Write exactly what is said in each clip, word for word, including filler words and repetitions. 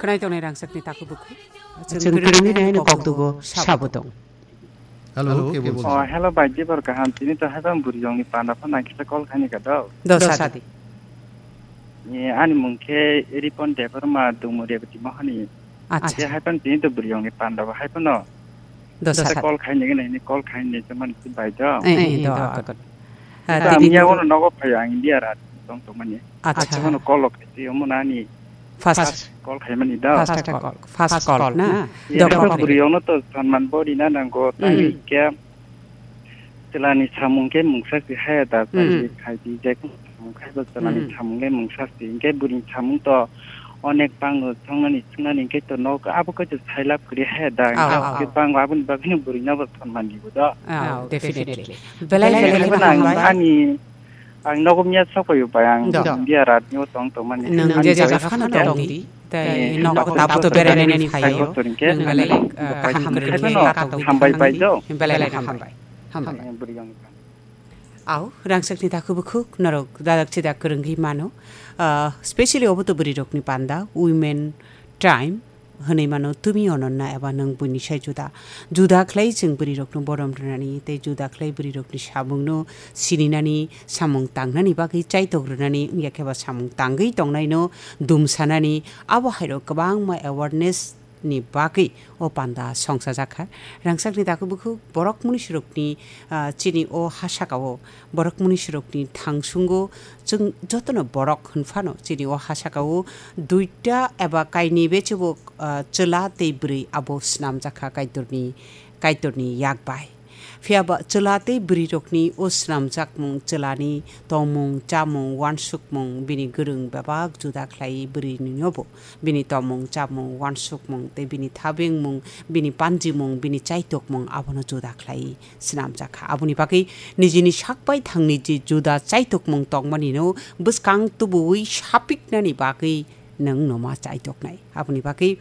Khwnai tongnai rangchakni takhuk bukhuk. Chwng kwrwngni naino kokdugo sabo tong. Hello, ke bolchha? Oh, hello, bai, Dibor kaham. Tini to haiphano bwrwi rokni panda phano ang kisa call khaini ka do. Dosa di. Ni ani mung khe Ripon Debbarma, Dungmuri Rebati Mohani. Acha. Khe haiphano tini to bwrwi rokni panda bo haiphano. Dosa. Kisa call khaini gana, ini call khaini se mani si bai do. Eh, eh, do, akon. Ah, tini miya to wono nogo phaio ang India rat tong tong mani. Acha. Acha, wono call khaisi, omo nani. First. First call khaimani da. First call. First call, na? Iya, dophor bwrwi rokno to sanman bo rina nango. Hmm. Tei khe chwlani samung khe mungsa si haya da, hmm, tei khai di, je samung khai bo chwlani, hmm, samung le mungsa si. Hinkhe bwrwini samung to onek bango, songnani, chwngnani hinkhe to nok abo khe to sailab kwrwi haya da. Aw, aw, aw. Hinkhe bango aboni bagwino bwrwino bo sanman di bo da. Aw, definitely. Belai, belai, belai, belai, belai, belai, belai, belai. Ani Ang nogo miya sok paio bai, ang do. India rat ni o tong tong mani. Nwng je jaga phano tong di, tei, eh, nogo tabuk to berai nani phaio. Nwng belai, eh, kaham kwrwng khe katok di hambai bai do. Belai hambai. Hambai. Eh, bwrwi ang. Aw, rangchakni takhuk bukhuk norok dadak chidak kwrwngwi mano. Ah, specially obo to bwrwi rokni panda, women time. Hwnwi mano, tumi Ononna eba nwng buini sai juda. Juda khlai chwng bwrwirokno borom rwnani tei juda khlai bwrwirokni samungno sininani, samung tangnani bagwi chaitok rwnani, wngya khe ba samung tangwi tongnaino dumsanani, abo hairok kwbangma awareness ni bagwi o panda songchajakha. Rangchakni takhuk bukhuk borok munisirokni, ah, chini o ha sakao borok munisirokni thangsungo chwng jotono borok hwnphano chini o ha sakao duita eba kainwi bechebo, ah, chwla tei bwrwi abo snamjakha Kaitorni, Kaitorni yak bai. Phiya ba chwla tei bwrwirokni o snamjakmung chwlani tongmung, chamung, uansukmung bini gwrwng bebak juda khlai bwrwininobo. Bini tongmung, chamung, uansukmung tei bini thabengmung, bini panjimung, bini chaitokmung abono juda khlai swnamjakha. Aboni bagwi nijini sak bai thangni je juda chaitokmung tongmanino bwskang tubuwi sapiknani bagwi nwng noma chaitoknai. Aboni bagwi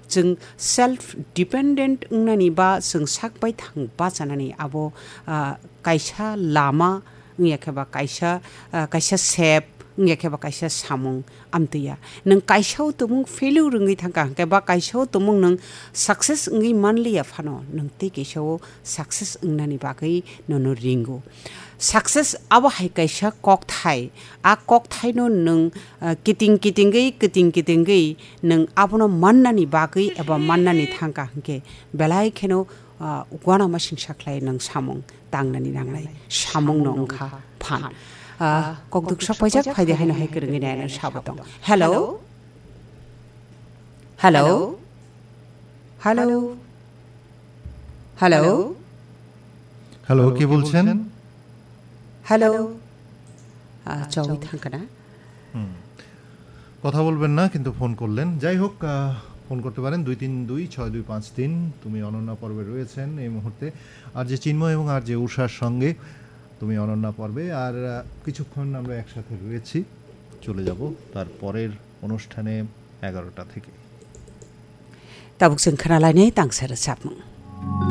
chwng self dependent wngnani ba chwng sak bai thang bachanani abo, ah, kaisa lama wngya khe ba kaisa, ah, kaisa sep wngya khe ba kaisa samung amtwi ya. Nwng kaisa o tumung failure wngwi thangkha hwnkhe ba kaisa o tumung nwng success wngwi manliya phano nwng tei kaisa o success wngnani bagwi nono ringo. Success abo hai kaisa kokthai. A kokthaino nwng, ah, kiting kitingwi, kiting kitingwi nwng abono mannani bagwi eba mannani thangkha hwnkhe belai kheno, ah, uanama singsa khlai nwng samung tangnani nangnai. Samungno wngkha phan. Ah, kokduk sok paijak phaidi haino hai kwrwngwi naina sabo tong. Hello? Hello? Hello? Hello? Hello, কে বলছেন? Hello? Ah, chongwi thangkha na? হুম। কথা বলবেন না, কিন্তু ফোন করলেন। যাই হোক, আহ, ফোন করতে পারেন দুই তিন দুই ছয় দুই পাঁচ তিন। তুমি অনন্যা পর্বে রয়েছেন এই মুহূর্তে। আর জে চিন্ময় এবং আর জে উষার সঙ্গে তুমি অনন্যা পর্বে। আর, আহ, কিছুক্ষণ আমরা একসাথে রয়েছি। চলে যাব তার পরের অনুষ্ঠানে এগারোটা থেকে। Tabuk chwng khwnalainai tangsa rwchapmung.